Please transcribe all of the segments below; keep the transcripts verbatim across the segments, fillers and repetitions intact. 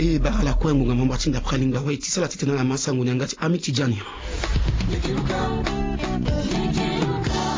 E bara ala kue ngbonga mamba ti ndapre alingba wai ti sala titene ala ma sango ni yanga ti ami ti jani.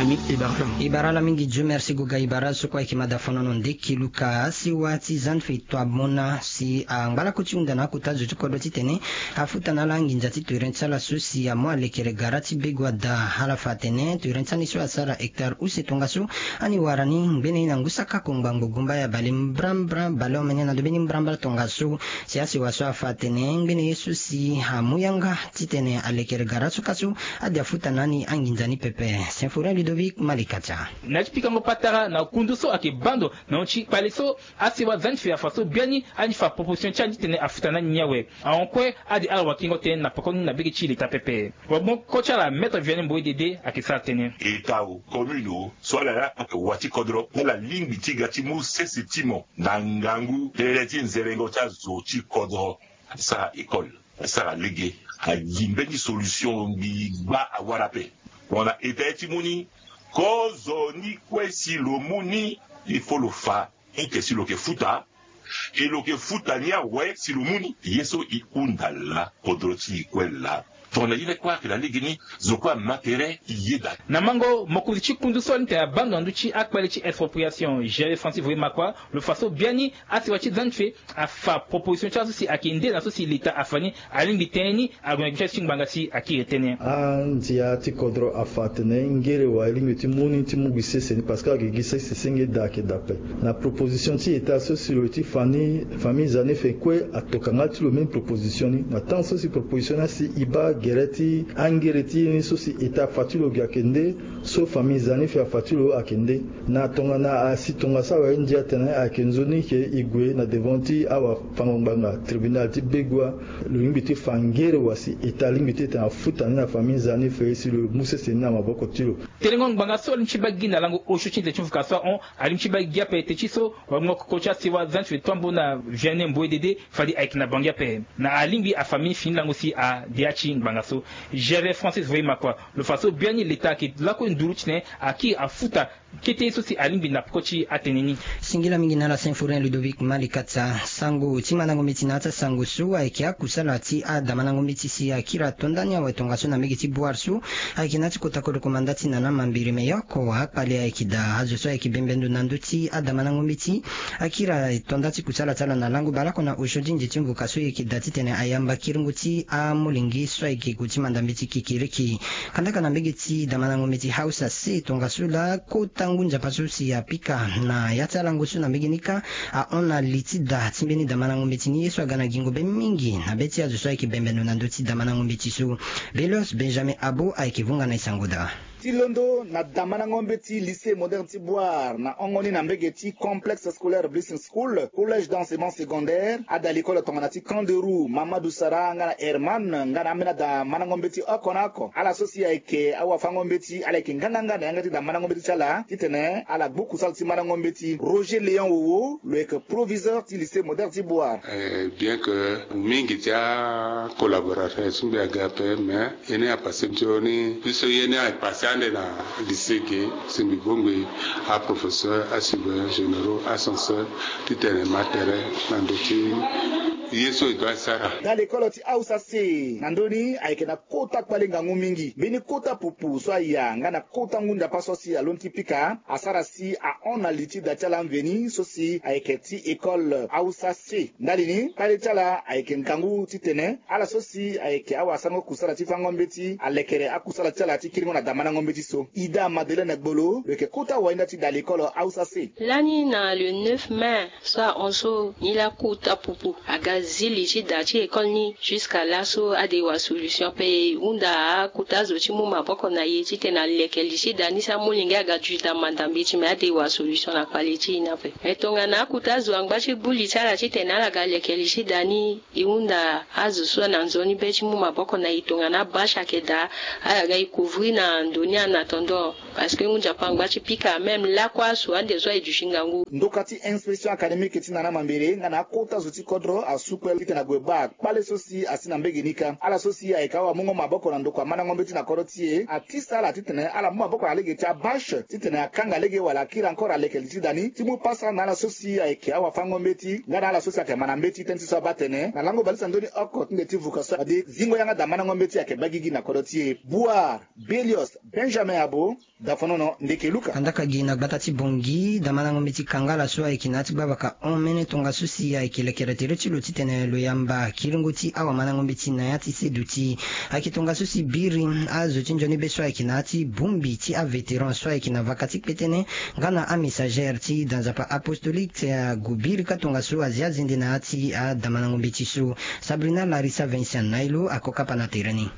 Ami e bara ala. E bara ala mingi. Dieu merci goga e bara ala so kue ayeke mada fonono ndeki luka asiwa ti zan fe to amona si angbalako ti hunda na akota zo ti kodro titene afuta na ala anginza ti ture ti ala so si amu alekere gara ti bego ada. Ala fa atene ture ti ani so asara hectare use tongaso ani wara ni ngbene ye na ngu saka kongba ngbogumba ya bale mbrambra bale omene na ndo mbeni mbrambra tongaso. Si asiwa so afa atene ngbene ye so si amu yanga titene alekere gara so ka so ade afuta na ani anginza ni pepe. Symphorien Ludovic Malikatia. Na ya ti pikango patara na kundu so ayeke bando na hon ti kpale so asiwa zan ti fe afa so biani ani fa proposition ti ani titene afuta na ani ni awe. Ahon kue ade ala wakingo tënë na poko ni na bege ti leta pepe. Wabongoko ti ala maître Vianney Mboye Dede ayeke sara tënë. Eta o, commune o, so ala laa ayeke wa ti kodro, ala lingbi ti ga ti mu sese ti mo na ngangu tënë ti nzerengo ti azo ti kodro. Asara école, asara lege, ayi mbeni solution ngbigba awara ape. Tongana eta ye ti mu ni, kozo ni kue si lo mu ni, il faut lo fa eke si lo yeke futa. E lo yeke futa ni awe si lo mu ni. Ye so e hunda laa, kodro ti e kue laa. Tongana ye ni kue ayeke na legeni, zo kue ama tere e yeda. Na mango mokonzi ti kundu so ni tene abando na ndö ti akpale ti expropriation, Gervais Francis Voye Makua, lo fa so biani asiwa ti zan ti fe afa proposition ti azo si ayeke nde na so si leta afa ni. Alingbi tënë ni ague na gi ti azo ti ngbanga si akiri tënë. Andia ti kodro afa atene ngere wa e lingbi ti mu ni ti mu gi sese ni parce que agi gi sese senge da ayeke da ape. Na proposition ti eta so si lo ye ti fa ni, famille Zanefe kue atoka nga ti lo même proposition ni. Na temps so si proposition ni asi e baa gere ti angere ti ye ni so si eta afa ti lo gi ayeke nde, so famille Zanefe afa ti lo ayeke nde. Na tongana asi tongaso awe ndia atene ayeke nzoni ke e gue na devant ti awafango ngbanga tribunal ti Begoua. Lo lingbi ti fa ngere wa si eta lingbi ti tene afuta ni na famille Zanefe si lo mu sese ni na maboko ti lo. Telengo ngbanga so alingbi ti baa gi na lango osio ti nze ti mvuka so ahon, alingbi ti baa gi ape ete ti so wabongoko ti asiwa zan ti fe to ambo na Vianney Mboye Dede fade ayeke na bangi ape. Na alingbi afamille fini lango si adia ti ngbanga so. Gervais Francis Voye Makua, lo fa so biani leta ayeke lakue nduru titene akiri afuta kete ye so si alingbi na peko ti atene ni. Singila mingi na ala Symphorien Ludovic Malikatia. Sango ti mandango mbeti na ya ti asango so ayeke akusala ti adamandango mbeti si akiri ato ndani awe tongaso na mbege ti Bouar so ayeke na ya ti kota kodro komanda ti nana mambiri me yoko akpale ayeke daa azo so ayeke bembe ndo na ndö ti adamandango mbeti. Akiri ato nda ti kusala ti ala na lango baleoko na osio ti nze ti mvuka so e yeke daa titene ayamba kiringo ti amolenge so ayeke gue ti manda mbeti kikiriki. Kandaka na mbege ti damandango mbeti Hausa se tongaso laa kota ngu nzapa so si apika na ya ti alango so na mbege ni kâ ahon na li ti da ti mbeni damandango mbeti ni ye so aga na gingo be mingi na be ti azo so ayeke bembe ndo na ndö ti damandango mbeti so. Belios Benjamin Abo ayeke vunga na e sango daa. Ti londo na damandango mbeti lycée moderne ti Bouar na hongo ni na mbege ti complexe scolaire Blessing School, collège d'enseignement secondaire, ada likolo tongana ti Kanderou, Mamadou Sara nga na Herman nga na ambeni ada mandango mbeti oko na oko. Ala so si ayeke awafango mbeti ala yeke nganganga na yanga ti da mandango mbeti ti ala titene ala gbu kusala ti mandango mbeti. Roger Léon Wowo lo yeke proviseur ti lycée moderne ti Bouar. Eh, bien que mingi ti acollaborateur so mbi aga ape mais ye ni apasse nzoni biso ye ni apasse ande na lycée ge. Si mbi bongbi aprofesseur, asurveillant généraux, ascenseur titene ma tere na ndö ti ye so e doit sara. Da lekolo ti Hausa se na ndö ni ayeke na kota kpale ngangu mingi mbeni kota pupu so aya nga na kota ngu nzapa so si alondo ti pika asara si ahon na li ti da ti ala mveni so si ayeke ti école Hausa se. Ndali ni kpale ti ala ayeke ngangu titene ala so si ayeke awasango kusala ti fango mbeti alekere akusala ti ala ti kiringo na damandango mbeti so. Ida Madeleine Gbolo lo yeke kota wainda ti da lekolo Hausa se. Lani na le neuf mai so ahon so ni laa kota pupu aga zi li ti da ti école ni. Jusqu'à laso ade wa solution ape. E hunda akota zo ti mu maboko na e titene aleke li ti da ni si amolenge aga duti da manda mbeti me ade wa solution na kpale ti e ni ape. Me tongana akota zo angba ti gbu li ti ala titene ala ga leke li ti da ni. E hunda azo so na nzoni be ti mu maboko na e tongana abâche ayeke daa ala ga e couvrir na ndo ni en attendant. Parce que ngu nzapa angba ti pika même lakue asu ande so aye duti ngangu. Ndoka ti inspection académique ti nana mambere nga na akota zo ti kodro asu Tukpe titene ague baa kpale so si asi na mbege ni kâ. Ala so si ayeke awamungo maboko na ndokua mandango mbeti na kodro ti e, atisa ala titene ala mu maboko na lege ti abâche titene akanga lege wala akiri encore aleke li ti da ni ti mu pasa na ala so si ayeke awafango mbeti nga na ala so si ayeke ma na mbeti tënë ti so abaa atene na lango bale ti anzoni oko ti nde ti vuka so fade zingo yanga da mandango mbeti ayeke baa gigi na kodro ti e. Bouar Belios Benjamin Abo, Dafonono ndeke Luka. Kandaka gi na gbata ti Bangui, damandango mbeti Kangala so ayeke na ya ti gbavaka hon mene tongaso si ayeke lekere tere ti lo titene lo yamba kiringo ti awamandango mbeti na ya ti seduti. Ayeke tongaso si biri azo ti nzoni be so ayeke na ya ti bongbi ti avétéran so ayeke na vaka ti kpetene nga na amessager ti da nzapa apostolique ti ague biri kâ tongaso azi azende na ya ti adamandango mbeti so. Sabrina Larissa Vincent Nailo ako kapa na tere ni.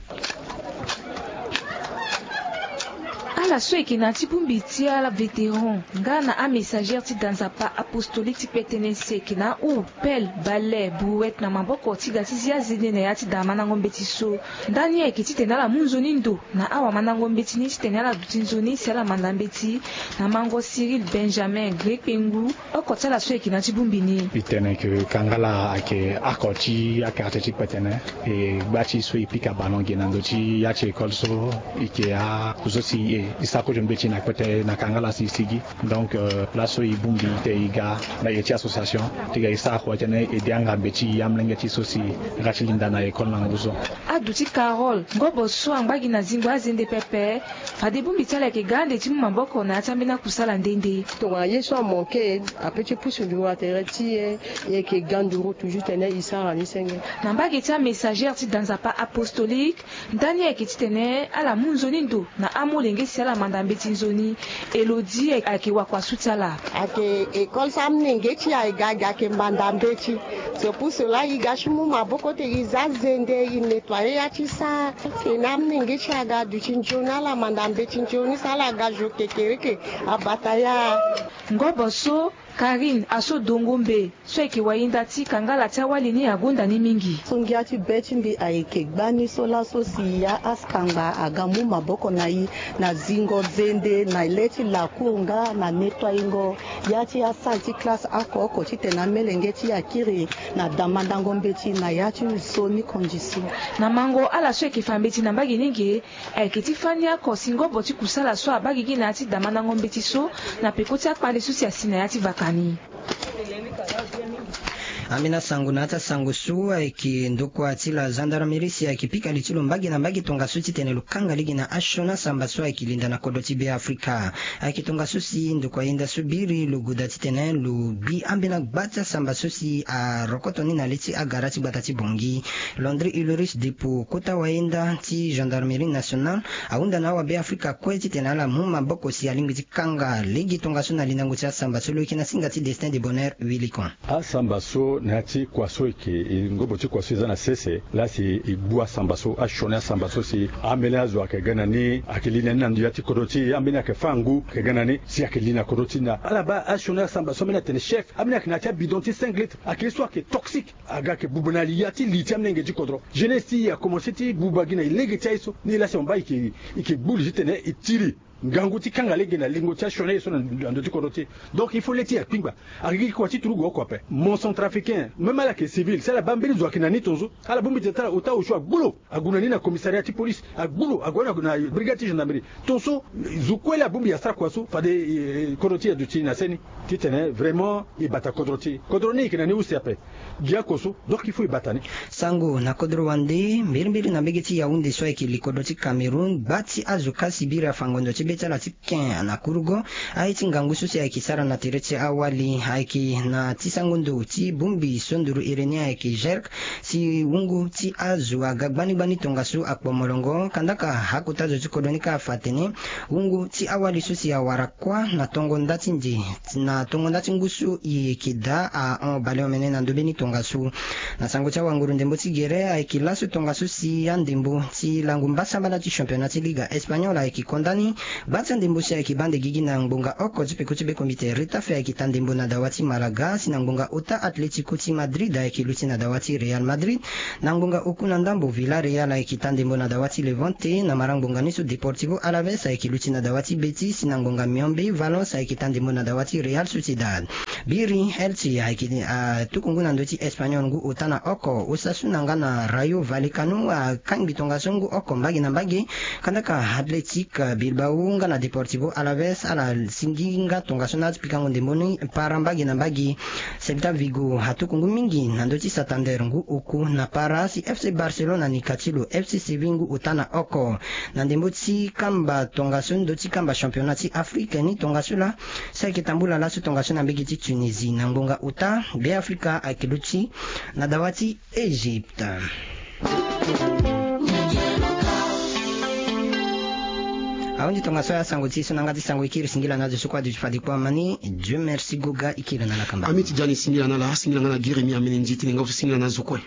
Ala so eke na ti bongbi ti ala vétéran nga na amessager ti da nzapa apostolique ti kpetene si eke na ahu, pelle, balai, brouette na maboko ti ga ti zi azende na ya ti da mandango mbeti so. Ndani ayeke titene ala mu nzoni ndo na awamandango mbeti ni titene ala duti nzoni si ala manda mbeti. Na mango Cyril Benjamin Grekpengu, oko ti ala so eke na ti bongbi ni. E tene ke Kangala ayeke oko ti akartie ti kpetene. E gba ti so e pika ballon ge na ndo ti ya ti école so, e yeke akusio si e sara kozo mbeti na kpete na Kangala si e sigi. Donc laso e bongbi te e ga na e ti association ti ga e sara kua titene e de anga mbeti amolenge ti so si e ga ti linda na école na ngu so. Aduti Carole, ngobo so angba gi na zingo azende pepe. Fade bongbi ti ala ayeke ga ande ti mu maboko na ya ti ambeni akusala nde nde. Tongana ye so amanke, ape ti pusu nduru na tere ti e, e yeke ga nduru toujours titene e sara ni senge. Na mbage ti amessager ti da nzapa apostolique, ndani ayeke titene ala mu nzoni ndo na amolenge si ala manda mbeti nzoni. Elodie ayeke wakua su ti ala. Ayeke école so amolenge ti e ayeke ga ayeke manda mbeti. C'est pour cela e ga ti mu maboko ti e zi azende, e nettoyer ya ti sara. Tena amolenge ti e aga aduti nzoni, ala manda mbeti nzoni si ala ga zo kekereke abata ya. Ngobo so, Karine Aso Dongombe, so ayeke wayinda ti Kangala ti awali ni agonda ni mingi. So ngia ti be ti mbi ayeke gbani so laso si ya askangba aga mu maboko na e na zingo zende na le ti lacour nga na nettoyingo ya ti asalle ti classe oko oko titene amolenge ti e akiri na damandango mbeti na ya ti nzoni condition. Na mango ala so ayeke fa mbeti na mbage ni ge, ayeke ti fani oko si ngobo ti kusala so abaa gigi na ya ti damandango mbeti so na peko ti akpale so si asi na ya ti vaka ni. Ambeni asango na ya ti asango so ayeke ndokua ti la gendarmerie si ayeke pika li ti lo mbage na mbage tongaso titene lo kanga lege na asioni asamba so ayeke linda na kodro ti Beafrika. Ayeke tongaso si ndokua yenda so biri lo goda titene lo gbi ambeni agba ti asamba so si arokoto ni na le ti agara ti gbata ti Bangui. Landry Ulrich Depo, kota wayenda ti gendarmerie nationale, ahunda na awabeafrika kue titene ala mu maboko si alingbi ti kanga lege tongaso na lindango ti asamba so. Lo yeke na singa ti Destin de Bonheur Wilikon. Asamba so na ya ti kua so eke, e, ngobo ti kua so e za na sese laa si e gbu asamba so, asioni asamba so si ambeni azo ayeke ga na ni, ayeke li na ni na ndo ya ti kodro ti e, ambeni ayeke fâ ngu ayeke ga na ni si ayeke li na kodro ti e na ala baa asioni asamba so ambeni atene chef, ambeni ayeke na ya ti abidon ti cinq litres, ayeke ye so ayeke toxique. Aga ayeke buba na ya ti li ti amolenge ti kodro. Jeunesse ti e akomanse ti buba gi na e lege ti aye so. Ni laa si mo baa e yeke, e yeke gbu li titene e tiri ngangu ti kanga lege na lingo ti asioni aye so na ndo ti kodro ti e. Donc il faut le ti e akpingba. Ayeke gi kua ti turugu oko ape. Mo centrafricain, même ala yeke civil, si ala baa mbeni zo ayeke na ni tongaso, ala bongbi tene ti ala ota osio agbu lo, ague na ni na commissariat ti police, agbu lo, ague na, na brigade ti gendarmerie. Tongaso zo kue laa abongbi asara kua so, fade, eh, kodro ti e aduti na seni. Titene vraiment e bata kodro ti e. Kodro ni e yeke na ni use ape. Gi oko so, donc il faut e bata ni. Sango na kodro wande, mbirimbiri na mbege ti Yaoundé so ayeke li kodro ti Cameroun, gba ti azo kasi biri afa ngondo ti be ti ala ti ken na kurugo. Aye ti ngangu so si ayeke sara na tere ti awali ayeke na ti sango ndo ti bongbi so nduru iri ni ayeke jerk, si wungu ti azo aga gbani gbani tongaso akpo molongo. Kandaka akota zo ti kodro ni kâ afa atene wungu ti awali so si awara kuâ na tongo nda ti nze, na tongo nda ti ngu so e yeke daa ahon baleomene na ndo mbeni tongaso. Na sango ti awanguru ndembo ti gere ayeke laso tongaso si andembo ti lango mbasambala ti championnat ti Liga Espagnol ayeke konda ni Gba ti andembo si ayeke baa ande gigi na ngbonga oko ti peko ti bekombite Retafe ayeke taa ndembo na dawa ti Malaga, si na ngbonga ota Atlético ti Madrid ayeke luti na dawa ti Real Madrid. Na ngbonga oku na ndambo, Villarreal ayeke taa ndembo na dawa ti Levante. Na marangbonga ni so, Deportivo Alaves ayeke luti na dawa ti Betis. Si na ngbonga miombe, Valence ayeke taa ndembo na dawa ti Real Sociedad. Biri Elche ayeke, ah, tuku ngu na ndö ti Espagnol ngu ota na oko. Osasuna nga na Rayo Vallecano akangbi tongaso ngu oko mbage na mbage. Kandaka Athletic Bilbao nga na Deportivo Alaves ala singi nga tongaso na ati pikango ndembo ni para mbage na mbage. Celta Vigo atuku ngu mingi na ndö ti Santander ngu oku na para, si F C Barcelona ni ka ti lo F C Séville ngu ota na oko. Na ndembo ti kamba tongaso ndö ti kamba championnat ti Afrique ni, tongaso laa si ayeke tambula laso tongaso na mbage ti Tunisie. Na ngbonga ota, Beafrika ayeke luti na dawa ti Égypte. Ahunzi tongaso ya sango ti e so na yanga ti sango e kiri singila na azo so kue adu ti fade kpo amani. Dieu merci Goga e kiri na ala kamba. Ami ti Diani singila na ala, singila nga na Giremi Amene Nzi tene nga so singila na azo kue.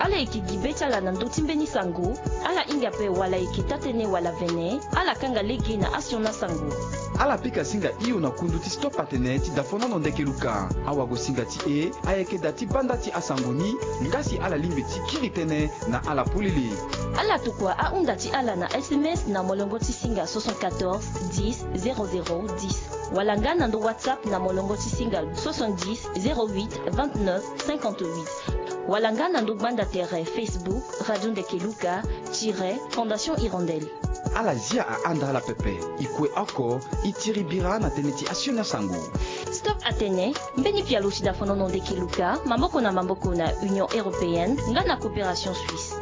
Ala yeke gi be ti ala na ndö ti mbeni sango. Ala hinga ape wala e yeke taa-tënë wala vene, ala kanga lege na asioni asango. Ala pika singa hio na kundu ti Stop Atene ti dafonono Ndeke Luka. Awagosinga ti e ayeke da ti banda ti asango ni, nga si ala lingbi ti kiri tënë na ala polele. Ala tokua ahunda ti ala na S M S na molongo ti singa soixante-quatorze dix zéro zéro dix, wala nga na ndo WhatsApp na molongo ti singa soixante-dix zéro huit vingt-neuf cinquante-huit, wala nga na ndo gbanda tere Facebook Radio Ndeke Luka tiret Fondation Hirondelle. Ala zia ahanda ala pepe, e kue oko, e tiri bira na tënë ti asioni asango. Stop Atene, mbeni pialo ti dafonono Ndeke Luka, maboko na maboko na Union Européenne nga na Coopération Suisse.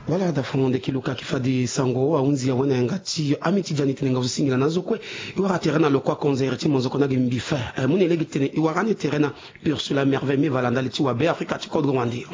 Voilà, dafonono Ndeke Luka ki fade sango ahunzi awe na yanga ti ami ti Diani tene nga so singila na azo kue. E wara tere na lokua konzere ti monzoko na ge mbi fe. Eh, mu na e lege tene e wara ni tere na Ursula Merveille Mivala ndali ti wa Beafrika ti kodro wande.